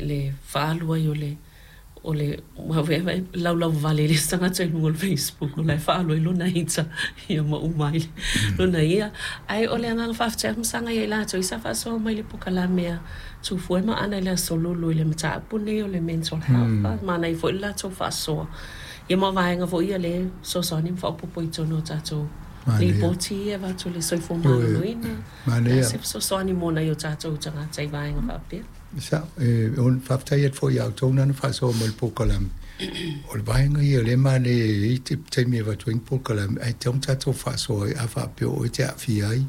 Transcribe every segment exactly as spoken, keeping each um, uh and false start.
Le faaalu ai o le o le ua laulauvale i le isi tagata i luga o le Facebook o la e faaalu ai lona ita ia ma uma ai lona ia. Ae o le agaga faafetai ma saga ia i latou sa faasoa mai le polokalame a Tufua ma Ana i le Aso Lulu i le mataupu lenei o le mental health. Manaia foi le latou faasoa ia ma vaega foi ia lea e fesoasoani ma faaopoopo i totonu o tatou lipoti ia e avatu i le soifua maloloina. Manaia. Se fesoasoani mo nai o tatou tagata i vaega faapea. Sa, e, faafetai atu foi ia outou na faasoa mai le polokalame. O le vaega ia o lea e manaia e i ai taimi e avatu ai ni polokalame, ae tatau ona tatou faasoa ai a faapea o oe e te aafia ai,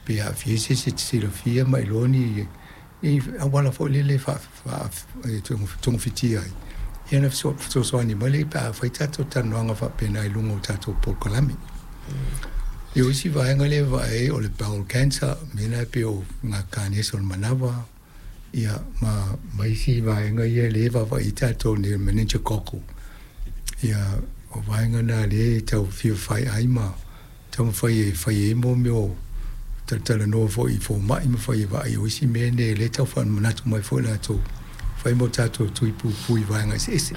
pe aafia ai se isi e te silafia ma iloa ni, ni auala foi lele e togafitia ai. Ia na fesoasoani mai lea pe a fai tatou talanoaga faapena i luga o tatou polokalame. Ia o isi vaega lea e vaai ai o le bowel cancer, mea la e pei o ngā kanesa o le manava, ia ma, ma isi vaega ia lea e vaavaai ai tatou nei o le meningococcal. Ia o vaega na lea e tau fia fai ai ma taumafai e fai ai mo mea o talatalanoa foi i fomai ma fai e vaai o isi mea nei lea e tau faamanatu mai foi latou fai mo tatou tui puipui i vaega eseese.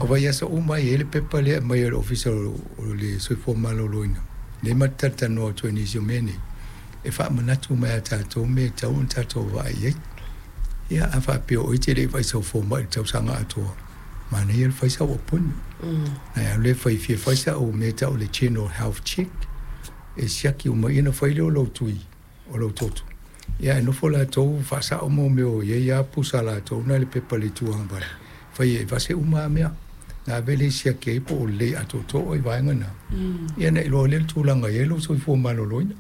O vaiaso uma e i ai le pepa lea e aumai e le Ofisa o le Soifua Maloloina, lea ma te talatalanoa atu ai i nisi o mea nei, e faamanatu mai ia tatou mea e tatau ona tatou vaai i ai. Ia, a faapea o oe e te le i vaai i sau fomai i le tausaga atoa, manaia le fai sau appointment. Ae alu e fai, fia fai sau mea e tau o le general health check, e siaki uma ia ona fai lea o lou tui, o lou toto. Ia ae nofo latou faasao mo mea o i ai lava pusa a latou na i le pepa i le itu agavale, fai e vase uma lava mea. Na ave lea e siaki ai po o lelei atoatoa oe i vaega na. Ia ona iloa lea o le tulaga e i ai lou soifua maloloina.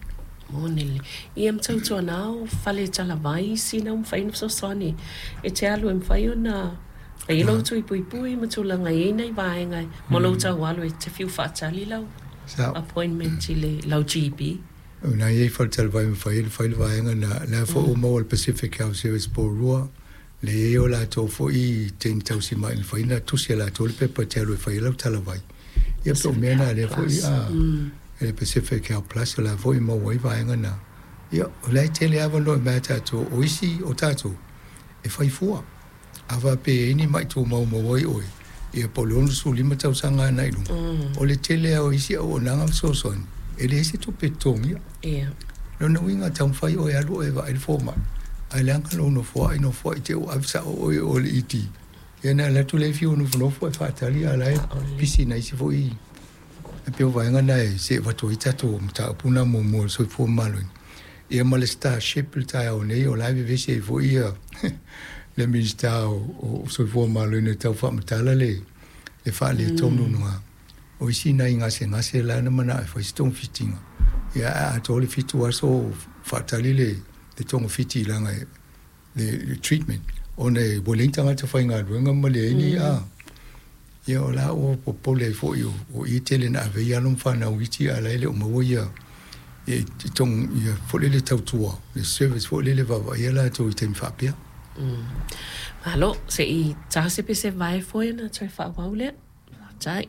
Moni le. Ia ma tautuana o fale talavai sina ua mafai ona fesoasoani e te alu e mafai ona fai ai lou tui puipui ma tulaga e i ai nai vaega mo lou tau alu e te fiu faatali lau appointment i le lau G P. O na i ai fale talavai e mafai ai ona fai le vaega na. La foi ua maua e le Pacific Health Service Porirua, le i ai o latou foi teine tausimai e mafai ona tusi e latou le pepa e te alu e fai ai lau talavai. Ia po o mea na lea foi a le Pacific Health Plus o la foi e maua ai vaega na. Ia, o la e tele avanoa mai ia tatou, o isi o tatou e fai fua. A faapea e i ai ni mai tumau maua ai oe, ia po o le onosefulu lima tausaga agai i luga, o le tele lava o isi auaunaga ma fesoasoani, e leai se tupe e totogia. Lona uiga, taumafai oe e alu oe e vaai le fomai, ae leaga lou nofoai, nofoai te i ua ave sao oe i o i le E D. Ia ona alu atu lea e fiu nofonofo ae faatali a o la e pisi i nai isi foi. E pei o vaega na e see avatu ai tatou mataupu na muamua o le soifua maloloina. Ia ma le Starship i le taeao nei, o la e vevesi ai foi ia le Minisita o Soifua Maloloina e tau faamatala le le faaletonu na o isi nai gasegase la na manao e fai se togafitiga. Ia ae atoa le fitu aso o faatali le le togafiti leaga le le treatment ona e ua leai ni tagata faigaluega ma leai ni a. Ia o la ua popole ai foi o i e tele na ave ai alo ma fanau iti a o la e le o maua ia ia tong ia foi lele tautua le service foi lele vaavaaia latou i taimi faapea. Malo, se i ta se pese vae foe ona toe faaauau lea. Faafetai.